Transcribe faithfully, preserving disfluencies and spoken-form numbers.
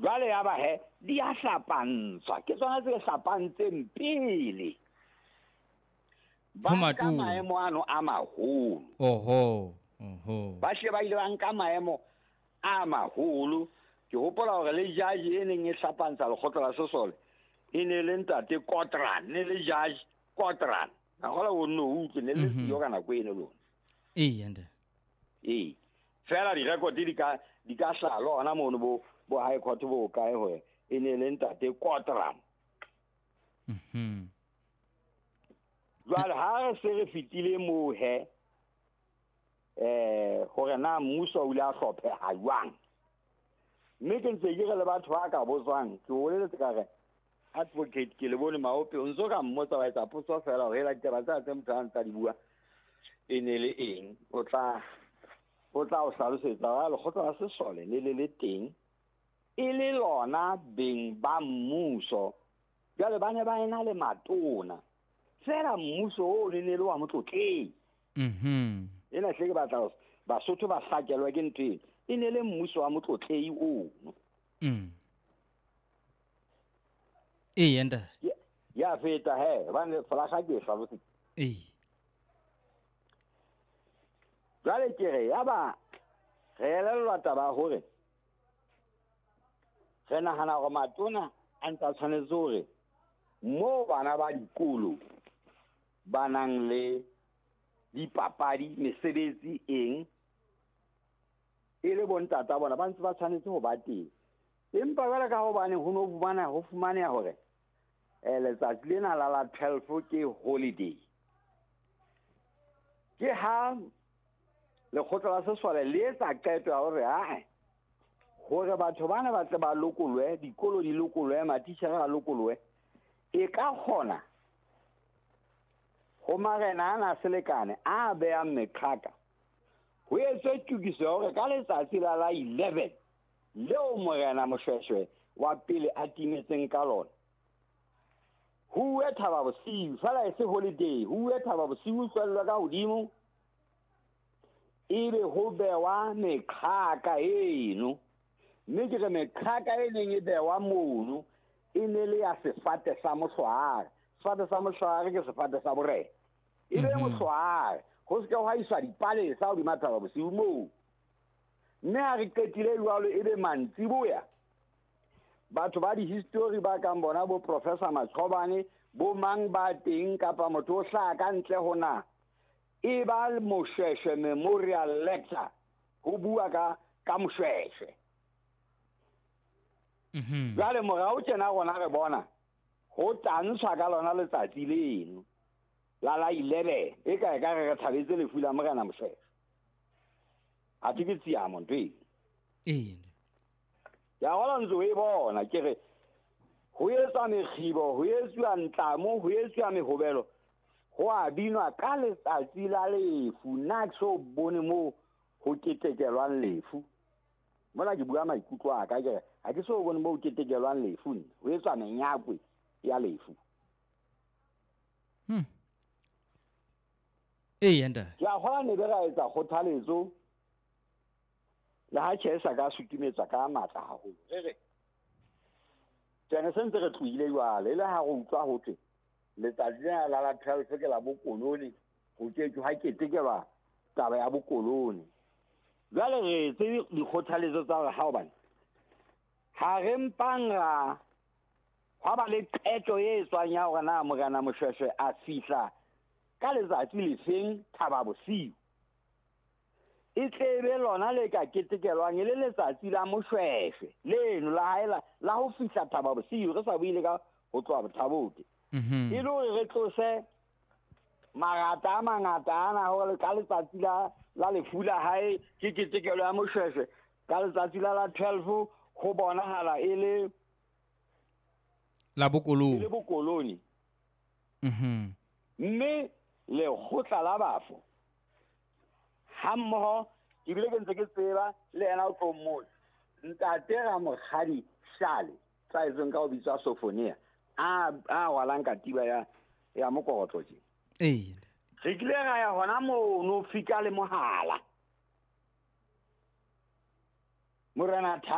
Jwale ya ba he di a hlapantshwa, ke tsona tse hlapantseng pele. Ba nka maemo ano a maholo. Oho, oho. Ba hle ba ile ba nka maemo a maholo. Ke hopola hore le judge e neng e hlapantsha lekgotla la sesole e ne le ntate Kotran, ne le judge Kotran. A hola o nno utlwe ne le siyo ka nako eno lona. Ee, ntate. Ee. Fela di-record di ka di ka hlaha le hona mono bo bo high court bo kae hore e ne le ntate Kotran. Mhm. Jwale ha re se re fetile moo he, eh hore na mmuso o ile a hlopheha jwang. Mme ke ntse ke re le batho ba ka botswang, ke o boleletse ka re advocate ke le bone Maope o ntso ka mmotsa wa etsa potso fela hore ela ditaba tsa tse motho a ntsa di bua e ne le eng, o tla o tla o hlalosetsa wa lekgotla la sesole le le le teng e le lona beng ba mmuso. Jwale ba ne ba ena le matona fela mmuso o ne ne le wa motlotleng. Mhm. Ena hle ke batla Basotho ba hlakelwa ke ntho ena. E ne le mmuso wa motlotlei ono. Mm. Ee, ntate. Ya feta he, hobane folaga ke e hlalositse. Ee. Jwale ke re ya ba re elellwa taba ya hore re nahana hore matona a ntse a tshwanetse hore moo bana ba dikolo ba nang le dipapadi, mesebetsi eng, e le bontata bona ba ntse ba tshwanetse ho ba teng. Empa jwale ka hobane ho no fumana ho fumaneha hore eh letsatsi lena la la twelve ke holiday, ke ha lekgotla la sesole le etsa qeto ya hore ae hore batho bana ba tle ba lokolwe, dikolo di lokolwe, matitjhere a lokolwe, e ka kgona ho marena ana a selekane a behang meqhaka ho etswe tokiso ya hore ka letsatsi la la eleven leo morena Moshoeshoe wa pele a timetseng ka lona, ho uwe Thaba Bosiu, fela e se holiday, ho uwe Thaba Bosiu tswellwe ka hodimo, ebe ho bewa meqhaka eno. Mme ke re meqhaka e neng e bewa mono e ne le ya sefate sa mohlwaare. Sefate sa mohlwaare ke sefate sa borena. E be mohlwaare, ho se ke hwa iswa dipalesa hodima Thaba Bosiu moo. Mme ha re qetile jwalo e be mantsiboya, batho ba di-history ba kang bona bo Professor Machobane, bo mang ba teng kapa motho o hlaha ka ntle ho na, e ba Moshoeshoe Memorial Lecture ho bua ka ka Moshoeshoe. Mhm. Jwale morao tjena rona re bona ho tantshwa ka lona letsatsi leno la la eleven, e ka e ka re re thabetse lefu la morena Moshoeshoe. Athe ke tshiamo ntho eno. Ee. Ya hola ntse o e bona ke re ho etswa mekgibo, ho etswa ntlamo, ho etswa mehobelo, ho a binwa ka letsatsi la lefu. Nna ke so bone moo ho ketekelwang lefu. Mona ke bua maikutlo a ka, ke re ha ke so bone moo ho ketekelwang lefu nna, ho etswa menyakwe ya lefu. Hmm. Ee, ntate. Ke a kgolwa ne be ra etsa kgothaletso le ha tjhe sa ka sutumetsa ka matla haholo. Re re tsene se ntse re tlohile jwale, e le ha re utlwa ho thwe letsatsi lena la la twelve ke la bokolone, ho ke ke ha ketekelwa taba ya bokolone. Jwale re etse dikgothaletso tsa hore ha hobane ha re mpang ra hwa ba le qeto e etswang ya hore na morena Moshoeshoe a fihla ka letsatsi lefeng Thaba Bosiu, e tle be lona le ka ketekelwang e le letsatsi la Moshoeshoe leno la hae la, la ho fihla Thaba Bosiu, re sa buile ka ho tloha Bothabote. Mhm. E le hore re tlose marata a mangata ana hore ka letsatsi la, la lefu la hae ke ketekelo ya Moshoeshoe, ka letsatsi la la twelve ho bonahala e le la bokolone. E le bokolone. Mhm. Mme lekgotla la bafo ha mmoho, ke bile ke ntse ke tseba le yena o tlo mmotsa ntate Ramokgadi Shale, tsaetseng ka ho bitswa Sofonia, a a rwalang katiba ya ya mokorotlo tje. Ee. Re kile ra ya hona mono fika le mohala. Morena